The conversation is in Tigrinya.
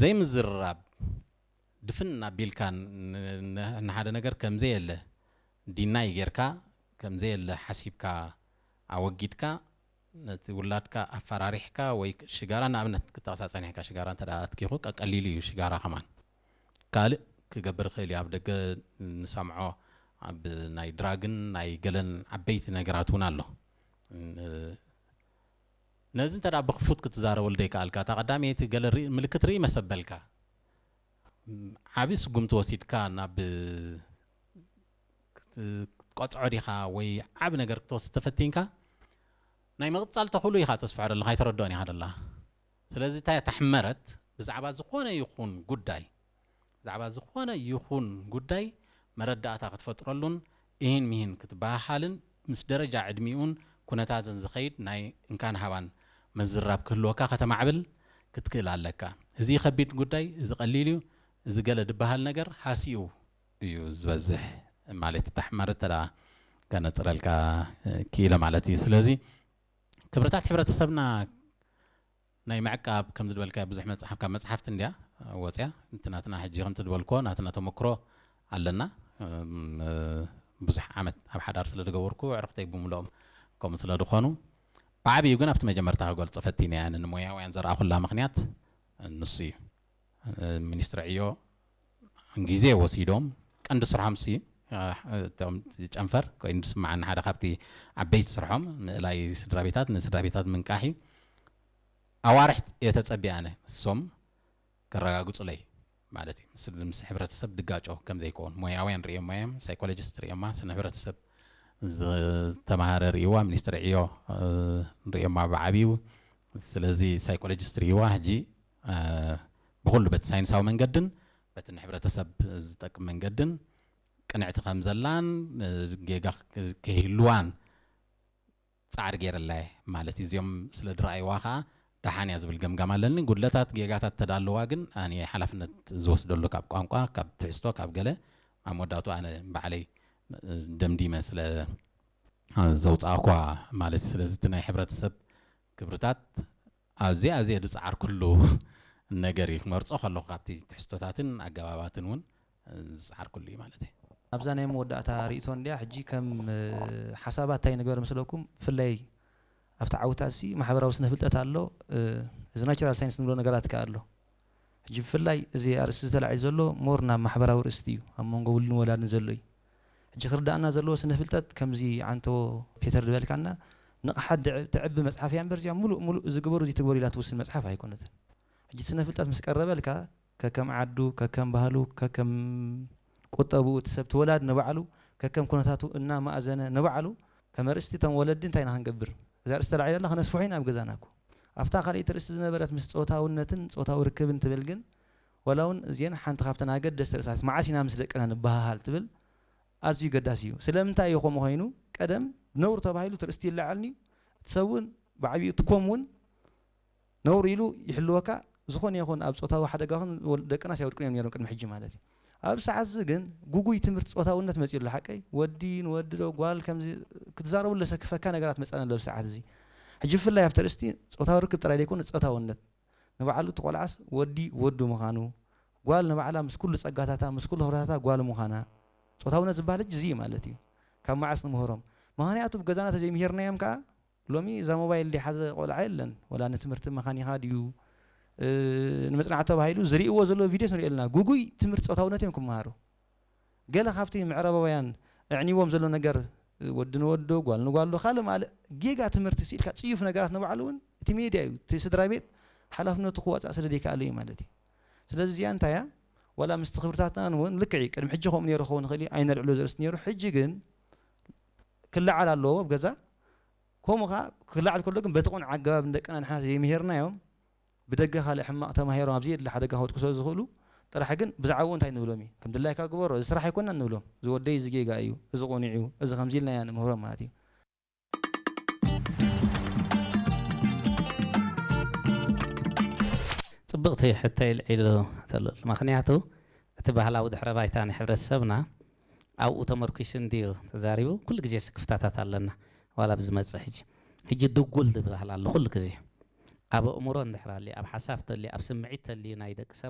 ዘይምዝርራብ ድፍን ኣቢልካ ንሓደ ነገር ከምዘየለ ዲናይ ጌርካ ከምዘየለ ሓሲብካ ኣወጊድካ ነቲ ውላድካ ኣፈራሪሕካ ወይ ሽጋራ ንኣብነት ክጠቕሳ ጸኒሕካ ሽጋራ እንተ ኣትኪኹ ቀቀሊሉ እዩ ሽጋራ ከማን ካልእ ክገብር ይኽእል እዩ ኣብ ደገ ንሰምዖ ኣብ ናይ ድራግን ናይ ገለን ዓበይቲ ነገራት እውን ኣሎ ነዚ እንተ ብክፉት ክትዛረበሉ ደይከኣልካ እታ ቀዳመይቲ ገለ ምልክት ርኢ መሰበልካ ዓብዪ ስጉምቲ ወሲድካ ናብ ክትቆፅዖ ዲኻ ወይ ዓብ ነገር ክትወስድ ተፈቲንካ ናይ ምቕፃል ተኽእሎ ኢኻ ተስፍሖ ደለኻ ኣይተረድኦን ኢኻ ደላ ስለዚ እንታይ ተሕመረት ብዛዕባ ዝኾነ ይኹን ጉዳይ ብዛዕባ ዝኾነ ይኹን ጉዳይ መረዳእታ ክትፈጥረሉን እሂን ምሂን ክትበሃሃልን ምስ ደረጃ ዕድሚኡን ኩነታትን ዝኸይድ ናይ እንካን ሃባን ምዝራብ ክህልወካ ከተማዕብል ክትክእል ኣለካ። እዚ ከቢድ ጉዳይ፣ እዚ ቀሊል እዩ፣ እዚ ገለ ዝበሃል ነገር ሃሲኡ እዩ ዝበዝሕ ማለት እዩ። ተሕመርት ተደኣ ከነጽረልካ ክኢለ ማለት እዩ። ስለዚ ክብርታት ሕብረተሰብና ናይ ምዕቃብ ከምዚ ዝበልካዮ ብዙሕ መፅሓፍ ካብ መፅሓፍቲ እንድያ ወፅያ እቲ ናትና ሕጂ ከምቲ ዝበልክዎ ናትና ተመክሮ ኣለና ብዙሕ ዓመት ኣብ ሓዳር ስለ ዝገበርኩ ዕርክተይ ብምልኦም ከምኡ ስለ ዝኾኑ ብዓብዩ ግን ኣብቲ መጀመርታ ክገልፆ ፈቲነ እያ ንሞያውያን ዘርኣኹላ ምክንያት ንሱ እዩ ሚኒስትሪ ዕዮ ግዜ ወሲዶም ቀንዲ ስርሖም ሲ እቶም ጨንፈር ኮይኑ ዝስምዓኒ ሓደ ካብቲ ዓበይቲ ስርሖም ምእላይ ስድራ ቤታት ንስድራ ቤታት ምንቃሕ እዩ ኣዋርሕ እየ ተጸቢየ ኣነ እሶም ከረጋግጹለይ ማለት እዩ ምስ ምስ ሕብረተሰብ ድጋጮ ከም ዘይከውን ሞያውያን ርእዮማ እዮም ሳይኮሎጂስት ርእዮማ ስነ ሕብረተሰብ ዝተማሃረ ርእይዋ ሚኒስትሪ ዕዮ ርእዮማ ብዓብዩ ስለዚ ሳይኮሎጂስት ርእይዋ ሕጂ ብኹሉ በቲ ሳይንሳዊ መንገድን በቲ ንሕብረተሰብ ዝጠቅም መንገድን ቅንዕቲ ከም ዘላን ጌጋ ከይህልዋን ፃዕሪ ገይረላ ማለት እዩ እዚኦም ስለ ድረኣይዋ ከዓ ደሓን እያ ዝብል ገምጋም ኣለኒ ጉድለታት ጌጋታት ተዳለዋ ግን ኣነ ሓላፍነት ዝወስደሉ ካብ ቋንቋ ካብ ትሕዝቶ ካብ ገለ ኣብ መወዳቱ ኣነ ባዕለይ ደምዲመ ስለ ዘውፃእኳ ማለት እዩ ስለዚ እቲ ናይ ሕብረተሰብ ክብርታት ኣዝየ ኣዝየ ዝፀዓርኩሉ ነገር እዩ ክመርፆ ከለኹ ካብቲ ትሕዝቶታትን ኣገባባትን እውን ዝፀዓርኩሉ እዩ ማለት እዩ ኣብዛ ናይ መወዳእታ ርእቶ እንድያ ሕጂ ከም ሓሳባት እንታይ ንገበር ምስለኩም ብፍላይ ኣብቲ ዓውታት ሲ ማሕበራዊ ስነ ፍልጠት ኣሎ እዚ ናቸራል ሳይንስ ንብሎ ነገራት ከ ኣሎ ሕጂ ብፍላይ እዚ ኣርእስቲ ዝተላዒ ዘሎ ሞር ናብ ማሕበራዊ ርእስቲ እዩ ኣብ መንጎ ውልን ወላድን ዘሎ እዩ ሕጂ ክርዳእና ዘለዎ ስነ ፍልጠት ከምዚ ዓንቶ ፔተር ዝበልካና ንቕሓት ትዕቢ መፅሓፍ እያ እምበር እዚኣ ሙሉእ ሙሉእ እዚ ግበሩ እዚ ትግበሩ ኢላ ትውስን መፅሓፍ ኣይኮነትን ሕጂ ስነ ፍልጠት ምስ ቀረበልካ ከከም ዓዱ ከከም ባህሉ ከከም ቁጠብኡ እቲ ሰብ ትወላድ ንባዕሉ ከከም ኩነታቱ እናማእዘነ ንባዕሉ ከም ኣርእስቲ እቶም ወለዲ እንታይ ኢና ክንገብር እዛ ኣርእስቲ ተላዒላ ኣላ ከነስፍሖ ኢና ኣብ ገዛና እኮ ኣብታ ካልኣይቲ ርእስቲ ዝነበረት ምስ ፆታውነትን ፆታዊ ርክብን ትብል ግን ዋላ እውን እዚአን ሓንቲ ካብተን ኣገደስቲ ርእሳት መዓስ ኢና ምስ ደቅና ንበሃሃል ትብል ኣዝዩ ገዳሲ እዩ። ስለምንታይ እዩ ከምኡ ኮይኑ? ቀደም ነውሪ ተባሂሉ እቲ ርእስቲ ይለዓል ንዩ። እቲ ሰብ እውን ብዓብይኡ እቲ ኮም እውን ነውሪ ኢሉ ይሕልወካ። ዝኾነ ይኹን ኣብ ፆታዊ ሓደጋ ኹን ደቅናስ ኣይወድቁን እዮም ነይሮም ቅድሚ ሕጂ ማለት እዩ። ኣብ ሰዓት እዚ ግን ጉጉይ ትምህርቲ ፆታውነት መፂኡ ኣሎ ሓቀይ? ወዲ ንወዲ ዶ ጓል ከምዚ ክትዛረቡ ለሰክፈካ ነገራት መፃና ኣሎ ኣብ ሰዓት እዚ። ሕጂ ብፍላይ ኣብቲ ርእስቲ ፆታዊ ርክብ ጥራይ ዘይኮነ ፆታውነት ንባዕሉ እቲ ቆልዓስ ወዲ ወዱ ምዃኑ፣ ጓል ንባዕላ ምስ ኩሉ ጸጋታታ፣ ምስ ኩሉ ክብረታታ ጓል ምዃና፣ ጾታውነት ዝበሃል ሕጂ እዚ እዩ ማለት እዩ። ካብ መዓስ ንምህሮም? ምኽንያቱ ኣብ ገዛና ተዘይምሂርናዮም ከኣ ሎሚ እዛ ሞባይል ዝሓዘ ቆልዓ የለን። ወላ ንትምህርቲ መኻኒኻ ድዩ ንመጽናዕቲ ተባሂሉ ዝርእይዎ ዘለዉ ቪድዮስ ንሪኦ ኣለና። ግጉይ ትምህርቲ ጾታውነት እዮም ክመሃሩ። ገለ ካብቲ ምዕራባውያን ኣዕንይዎም ዘሎ ነገር ወዲ ንወዶ ጓል ንጓል ዶ ካልእ ማልእ ጌጋ ትምህርቲ ስኢልካ ጽዩፍ ነገራት ንባዕሉ እውን እቲ ሜድያ እዩ እቲ ስድራ ቤት ሓላፍነቱ ክዋፃእ ስለ ዘይከኣለ እዩ ማለት እዩ ስለዚ እዚኣ እንታይ እያ ዋላ ምስቲ ክብርታትና እውን ልክዕ እዩ ቅድሚ ሕጂ ከምኡ ነይሩ ክኸውን ይኽእል እዩ ኣይነልዕሎ ዘርእስቲ ነይሩ ሕጂ ግን ክለዓል ኣለዎ ኣብ ገዛ ከምኡ ከዓ ክለዓል ከሎ ግን በቲ ቁኑዕ ኣገባብ ንደቅና ንሕና ዘይምሄርናዮም ብደገ ካልእ ሕማቕ ተማሂሮም ኣብ ዘየድሊ ሓደጋ ክወድቁ ስለ ዝኽእሉ ጥራሕ ግን ብዛዕባኡ እንታይ ንብሎም እዩ ከም ድላይካ ግበሮ እዚ ስራሕ ኣይኮነን ንብሎም እዚ ወደይ እዚ ጌጋ እዩ እዚ ቁኑዕ እዩ እዚ ከምዚ ኢልና ኢና ንምህሮም ማለት እዩ ፅብቕቲ ሕቶ ኢልዒሉ ተልል ምክንያቱ እቲ ባህላዊ ድሕረ ባይታ ናይ ሕብረተሰብና ኣብኡ ተመርኪሱ እንድዩ ተዛሪቡ ኩሉ ግዜ ስክፍታታት ኣለና ዋላ ብዝመፅእ ሕጂ ሕጂ ድጉል ዝበሃል ኣሎ ኩሉ ግዜ ኣብ ኣእምሮ እንድሕር ኣልዩ ኣብ ሓሳብ ተልዩ ኣብ ስምዒት ተልዩ ናይ ደቂ ሰብ